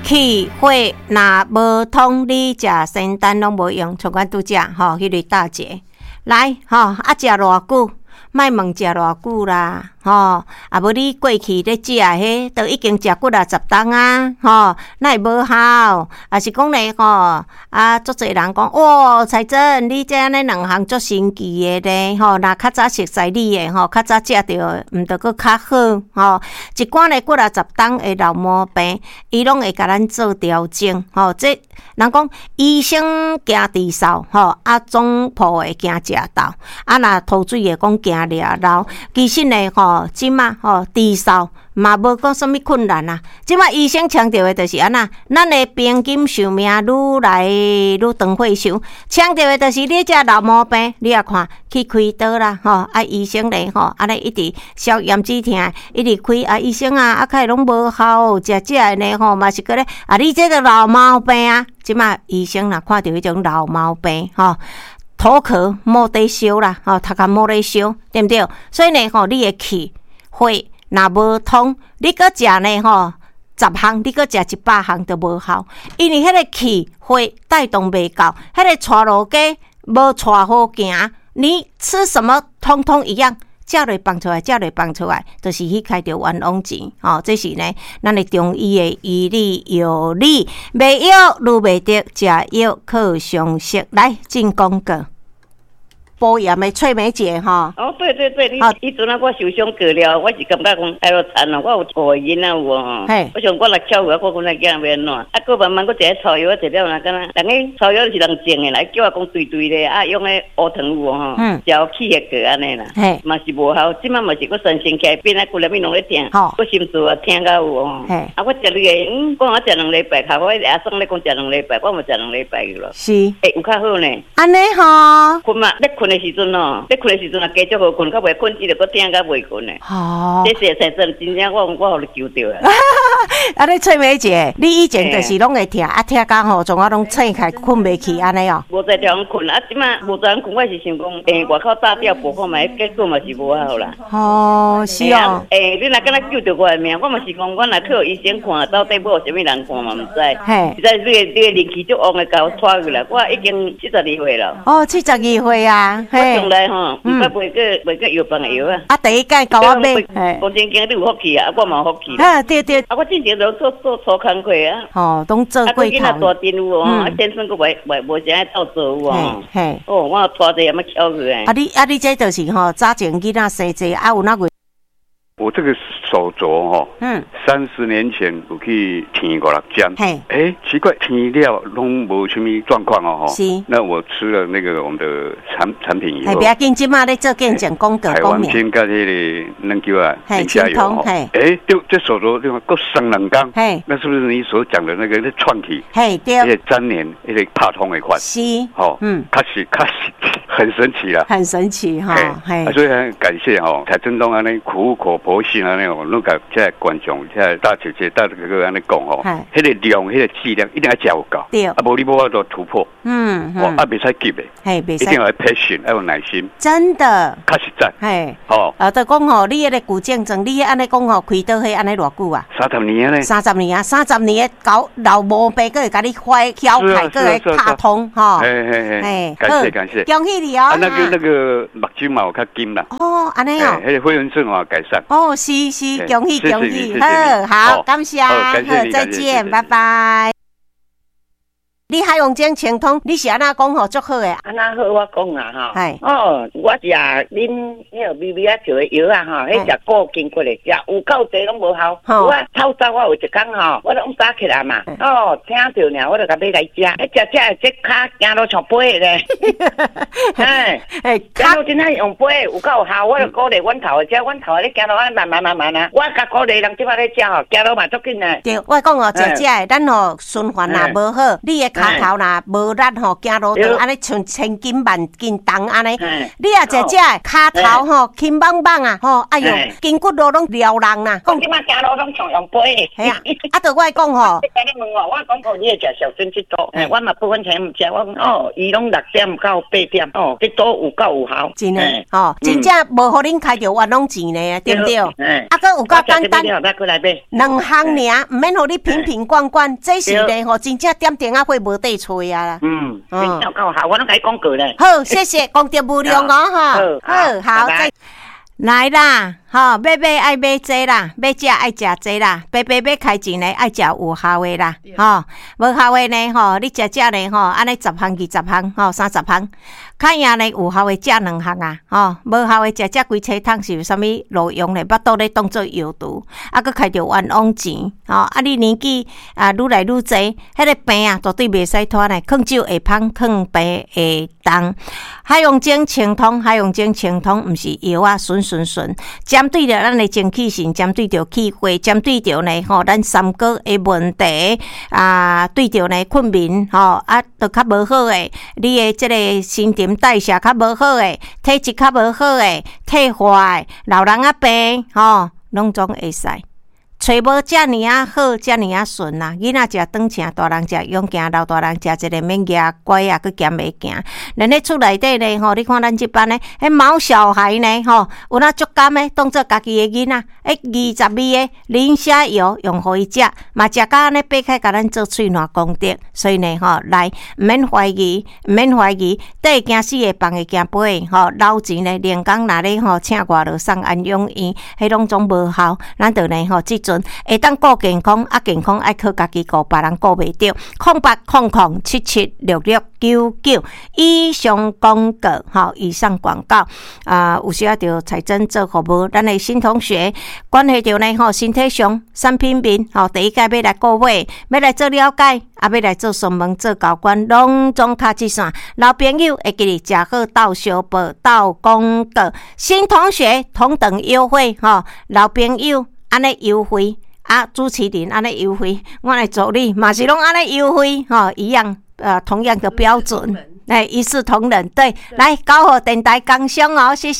氣血若無通，你食仙丹攏無用。像阮拄則吼，彼個大姐來吼，啊食偌久？莫問食偌久啦，吼，啊無你過去咧食彼，都已經食幾若十冬啊，吼，哪會無效？啊是講咧吼，啊足濟人講，哇，彩珍，你這按呢兩項足神奇的咧，吼，若較早熟似你的吼，較早食著，毋著閣較好，吼。一寡咧幾若十冬的老毛病，伊攏會共咱做調整，吼。這人講醫生驚治嗽，吼，啊總鋪的驚食豆，啊若吐水的講驚掠流，其實呢，吼，這馬吼治嗽嘛無講啥物困難啊。這馬醫生強調的就是按怎，咱的平均壽命愈來愈長歲數，強調的就是你這老毛病，你也看去開刀啦，吼，啊醫生咧吼，按呢一直消炎止疼，一直開啊醫生啊，啊較會攏無效，食食的呢吼嘛是閣咧，啊你這個老毛病啊，這馬醫生若看著彼種老毛病吼。頭殼無得燒啦，吼，頭殼無咧燒，對毋對？所以呢，吼，你的氣血若無通，你閣食呢，吼，10項，你閣食100項都無效，因為彼個氣血帶動袂夠，彼個帶路雞無帶好行，你吃什麼通通一樣。食落放出來，食落放出來，就是去開著冤枉錢，吼！這是呢，咱的中醫的醫理藥理，賣藥愈袂得，食藥靠常識。來進廣告。補鹽的翠梅姐吼。哦，對對對，你彼陣啊，我受傷過了，我是感覺講哎喲慘哦，我有五個囡仔有無吼？我想我若翹去，我講那囝欲按怎？啊，閣慢慢閣一个草藥，食了若敢若，人彼草藥是人種的啦，叫我講對對咧，啊，用彼烏糖有無吼？食予起血過按呢啦，嘛是無效。這擺嘛是閣神仙起來變啊，規粒物攏咧疼，閣心臟也疼到有無吼？啊，我食你個，講我食2禮拜，較我阿桑咧講食兩禮拜，我嘛食兩禮拜去咯。是。欸，有較好呢。按呢吼。睏嘛，咧睏的時陣哦，咧睏的時陣啊，加足好睏，較袂睏起就閣疼甲袂睏的。哦。這是才真真正我我予你求著啊。啊，你翠梅姐，你以前就是攏會疼，啊疼到吼，從我攏醒起來睏袂去按呢哦。無在地方睏，啊，這擺無在睏，我是想講，欸，外口炸掉補看覓，結果嘛是無效啦。哦，是哦。欸，你若敢若救著我的命，我嘛是講，我若去予醫生看，到底要予啥物人看嘛毋知。實在你個靈氣足旺的，共我帶去啦。我已經72歲了。哦，72歲啊。我從來吼，毋捌買過藥房的藥啊。啊，第一擺共我買。講真經，你有福氣啊，我嘛有福氣。啊，對對。啊，我之前都做做粗工課啊。哦，攏做過頭。啊，囡仔大陣有無？啊，先生閣袂袂無啥愛鬥做有無？哦，我拖這啥物巧去啊你啊你這就是吼，早前囡仔生濟啊有哪個？我這個手肘吼，30年前有去貼五六針，欸，奇怪，貼了攏無啥物狀況哦，那我吃了那個我們的產品以後，不要緊，這馬咧做見證廣告。台灣先佮彼個軟球啊，寧夏油吼，欸，就這手肘就閣鬆兩工，那是不是你所講的那個咧串起？對，彼個粘連，彼個拍通的款，是，吼，確實確實很神奇啦，很神奇哈，所以很感謝吼，蔡振東按呢苦口婆心按呢哦，攏共這觀眾、這大姐姐、大哥哥按呢講吼，彼個量、彼個劑量一定愛食有夠，啊，無你無法度突破，哦，啊，袂使急的，袂使，一定要 patient，要有耐心，真的，較實在，吼，啊，就講吼，你彼個舊症狀，你按呢講吼，開刀彼按呢偌久啊？三十年咧，三十年啊，三十年的搞老毛病，閣會共你發曉開，閣會拍通，吼，嘿嘿嘿，感謝感謝，恭喜你哦，啊，那個目睭嘛有較金啦，哦，按呢哦，彼個會員證嘛改善，哦，是是，恭喜恭喜，好好，感謝，好，再見，拜拜。你海王精清通，你是按怎講吼足好的？按怎好我講啊吼。哦，我食恁彼個微微仔做的藥啊吼，彼食固經過來食有夠濟攏無效。我透早我有一工吼，我攏早起來嘛，哦，聽著爾，我就共買來食，彼食食這跤行路像飛的咧。哎，行路真正用飛，有夠效，我就鼓勵阮頭的，食阮頭的咧行路按呢慢慢慢慢啊。我共鼓勵人這擺咧食吼，行路嘛足緊的。對，我講哦，食食的，咱吼循環若無好，你的跤跤頭若無力吼，行路就按呢像千斤萬斤重按呢。你若食這个跤頭吼輕枋枋啊吼，哎喲，筋骨路攏撩人啦。講這擺行路攏像用背。嘿啊，啊，著我講吼。你問我，我講過你會食小樽這道，我嘛不分錢毋食，我講哦，伊攏6點到8點，哦，這道有夠有效。真的吼，真正無予恁開著冤枉錢呢，對毋對？啊，閣有夠簡單。兩項爾，毋免予你瓶瓶罐罐，這是咧吼，真正點燈仔火無得揣啊啦。嗯，真正夠效，我攏共你講過咧。好，謝謝，功德無量哦，吼。好，好，再來啦，吼，欲買愛買這啦，欲食愛食這啦，白白欲開錢呢，愛食有效的啦，吼，無效的呢，吼，你食食呢，吼，按呢十項20項，吼，30項，較贏呢有效的食兩項啊，吼，無效的食食規車桶是有啥物路用呢？腹肚咧當做藥毒，啊，閣開著冤枉錢，吼，啊，你年紀啊愈來愈濟，彼個病啊絕對袂使拖呢，勸酒會芳，勸病會重。海洋精清通，海洋精清通，毋是藥啊，純純純，針對著咱的精氣神，針對著氣血，針對著呢吼，咱三高的問題啊，對著呢睏眠吼啊，都較無好的，你的這個新陳代謝較無好的，體質較無好的，退化的，老人仔病吼，攏總會使。揣無遮爾仔好，遮爾仔順啦！囡仔食轉正，大人食勇健，老大人食一个免蜈拐仔，閣兼會行。咱咧厝內底呢，吼，你看咱這班呢，彼毛小孩呢，吼，有哪足甘的，當做家己的囡仔。22个磷蝦油用予伊食，嘛食甲按呢擘開，共咱做喙瀾功德。所以呢，吼，來毋免懷疑，毋免懷疑，綴會驚死的，放會驚飛的，吼，老錢呢，連工若咧吼，請外勞送安養院，彼攏總無效。咱著呢，吼，這陣會當顧健康，啊，健康愛靠家己顧，別人顧袂著。0800776699以上廣告，吼，以上廣告啊，有時啊，著采甄做服務，咱的新同學關係著呢，吼，身體上產品面，吼，第一屆欲來購買，欲來做了解，啊，欲來做詢問、做交關，攏總敲這線。老朋友會記得食好鬥相報、鬥廣告，新同學同等優惠，吼，老朋友按呢優惠，啊，主持人按呢優惠，我的助理嘛是攏按呢優惠，吼，一樣，同樣的標準，來一視同仁，對，來九號電台工商哦，謝謝。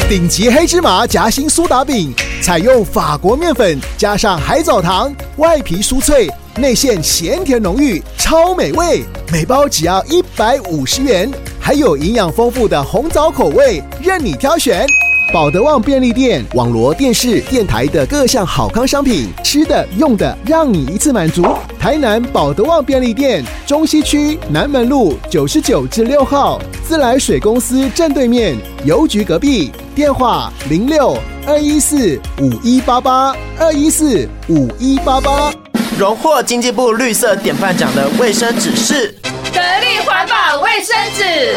頂級黑芝麻夾心蘇打餅，採用法國麵粉加上海藻糖，外皮酥脆，內餡鹹甜濃郁，超美味。每包只要150元，還有營養豐富的紅棗口味，任你挑選。寶德旺便利店、網羅電視、電台的各項好康商品，吃的、用的，讓你一次滿足。台南寶德旺便利店，中西區南門路99之6號，自來水公司正對面，郵局隔壁。電話06-214-5188，214-5188。榮獲經濟部綠色典範獎的衛生紙是得力環保衛生紙。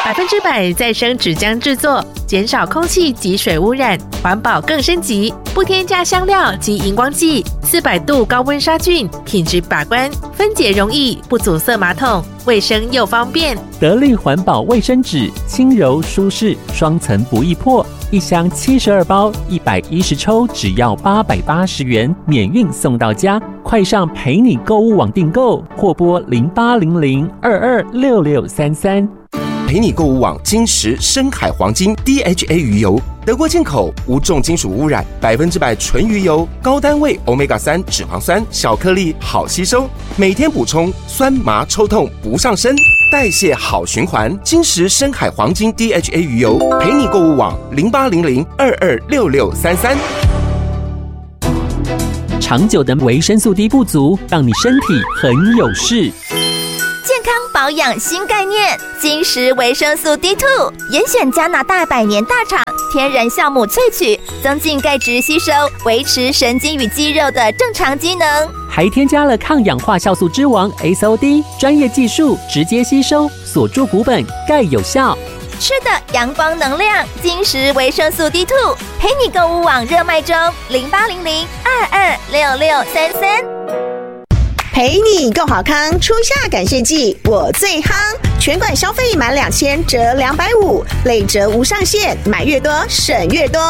100%再生紙漿製作，減少空氣及水污染，環保更升級。不添加香料及熒光劑，400度高溫殺菌，品質把關，分解容易，不阻塞馬桶，衛生又方便。得力環保衛生紙，輕柔舒適，雙層不易破，一箱72包，110抽，只要880元，免運送到家。快上陪你購物網訂購，或撥0800226633。陪你購物網金石深海黃金 DHA 魚油，德國進口，無重金屬污染，100%純魚油，高單位 Omega 3脂肪酸，小顆粒好吸收，每天補充，酸麻抽痛不上身，代謝好循環。金石深海黃金 DHA 魚油，陪你購物網0800226633。長久的維生素 D 不足，讓你身體很有事。健康保養新概念，金石維生素 D2，嚴選加拿大百年大廠天然酵母萃取，增進鈣質吸收，維持神經與肌肉的正常機能。還添加了抗氧化酵素之王 SOD，專業技術直接吸收，鎖住骨本，鈣有效。吃的陽光能量，金石維生素 D2，陪你購物網熱賣中，0800226633。陪你共好康，初夏感謝祭，我最夯。全馆消费满2000折250，累折无上限，买越多省越多。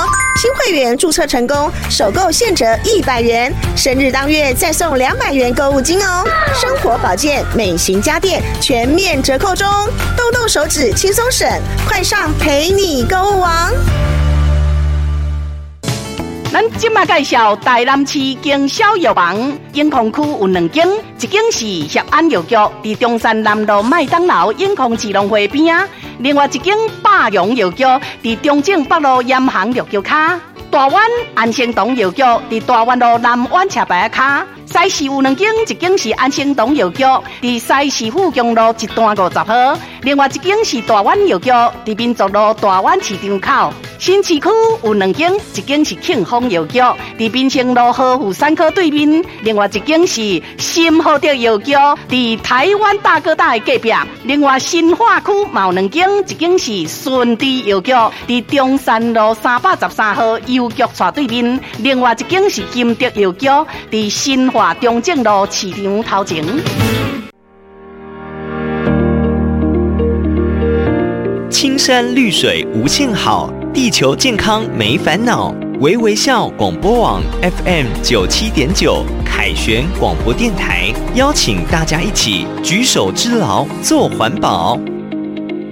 新会员注册成功，首购现折100元，生日当月再送200元购物金哦。生活保健、美型家电全面折扣中，动动手指轻松省，快上陪你购物王。咱這馬介紹台南市經銷藥房，永康區有兩間，一間是協安藥局，佇中山南路麥當勞永康市農會邊仔；另外一間百榮藥局，佇中正北路鹽行藥局跤。大灣安生堂藥局，佇大灣路南灣斜牌仔跤。西市有兩間，一間是安生堂藥局，佇西市富強路一段50號；另外一間是大灣藥局，佇民族路大灣市場口。新市區有兩間，一間是慶豐藥局，佇民生路和富三科對面；另外一間是新和德藥局，佇台灣大哥大的隔壁。另外新化區嘛有兩間，一間是順治藥局，佇中山路313號郵局斜對面；另外一間是金德藥局，佇新化中正路市場頭前。青山綠水無限好，地球健康沒煩惱。微微笑廣播網 FM 97.9凱旋廣播電台，邀請大家一起舉手之勞做環保。